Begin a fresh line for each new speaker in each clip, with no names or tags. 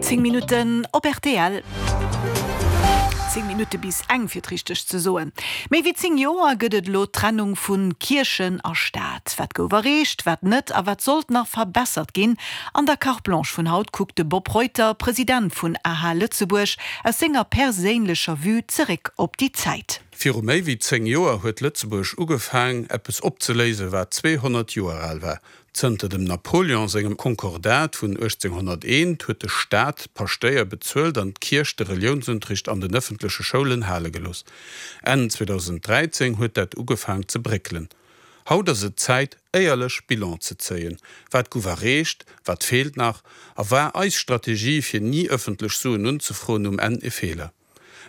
10 Minutten op rtl. 10 Minutte bis eng, fir et richteg ze soen. Méi wéi 10 Joer gëtt et elo d'Trennung vu Kierchen a Staat. Wat gouf erreecht, wat net a wat sollt nach verbessert ginn? An der Carte Blanche vun haut kuckt de Bob Reuter, President vun aha Lëtzebuerg, aus senger perséinlecher Vue zeréck op déi Zäit.
Viru méi wéi 10 Joer huet Lëtzebuerg ugefaang, eppes opzeléisen, wat 200 Joer al war. Zënter dem Napoleon sengem Konkordat vun 1801 huet de Staat d'Paschtéier bezuelt an d'Kierch de Reliounsunterricht an den ëffentleche Schoulen hale gelooss. Enn 2013 huet dat ugefaang ze bréckelen. Haut ass et Zäit, éierlech Bilan ze zéien. Wat gouf erreecht, wat feelt nach a war eis Strategie, fir ni ëffentlech Suen unzefroen, um Enn e Feeler?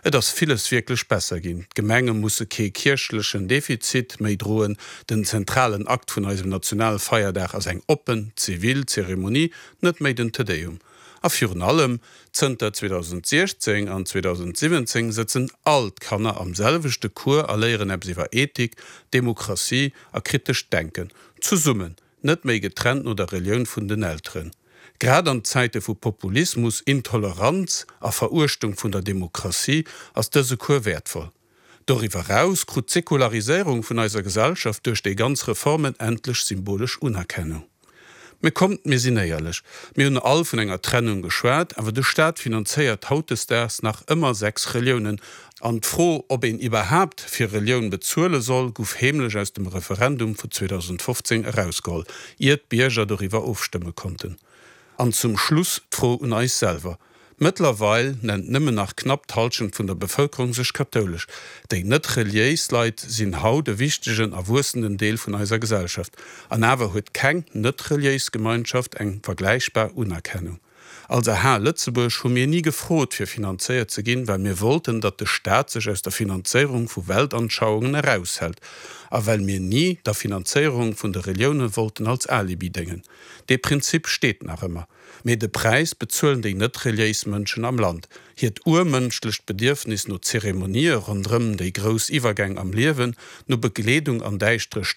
Et ass villes wierklech besser ginn. D'Gemenge musse kee kierchlechen Defizit méi droen. Den zentralen Akt vun eisem Nationalfeierdag ass eng oppen, zivil Zeremonie, net méi den Te Deum. A virun allem, zënter 2016 an 2017 sëtzen all d'Kanner am selwechte Cours a léieren eppes iwwer Ethik, Demokratie a kritescht Denken. Zesummen, net méi getrennt no der Relioun vun den Elteren. Grad an Zäite vu Populismus, Intoleranz a Veruechtung vun der Demokratie ass dëse Cours wäertvoll. Doriwwer eraus krut d'Säkulariséierung vun eiser Gesellschaft duerch déi ganz Reformen endlech symbolesch Unerkennung. Mee kommt, mir sinn éierlech, Mir hunn all vun enger Trennung geschwat, awer de Staat finanzéiert hautdesdaags nach ëmmer 6 Reliounen An d'Fro, ob een iwwerhaapt fir Relioun bezuele soll, guff heemlech aus dem Referendum vu 2015 erausgeholl, ier d'Bierger doriwwer ofstëmme konnten. An zum Schluss d'Fro un eis selwer, Mëttlerweil nennt nëmmen nach knapp d'Halschent vun der Bevëlkerung sech kathoulesch. Déi net reliéis Leit sinn haut e wichtegen a wuessenden Deel vun eiser Gesellschaft. An awer huet keng net reliéis Gemeinschaft eng vergläichbar Unerkennung. Als aha Lëtzebuerg hu mir ni gefrot fir finanzéiert ze ginn, well mir wollten, datt de Staat sech aus der Finanzéierung vu Weltanschauungen eraushält a well mir ni der Finanzéierung vun de Relioune wollten als Alibi déngen. Dee Prinzip steet nach ëmmer. Mee de Präis bezuelen déi net reliéis Mënschen am Land. Hiert urmënschlecht Bedierfnis no Zeremonië ronderëm déi grouss Iwwergäng am Liewen, no Begleedung an däischtere Stonnen.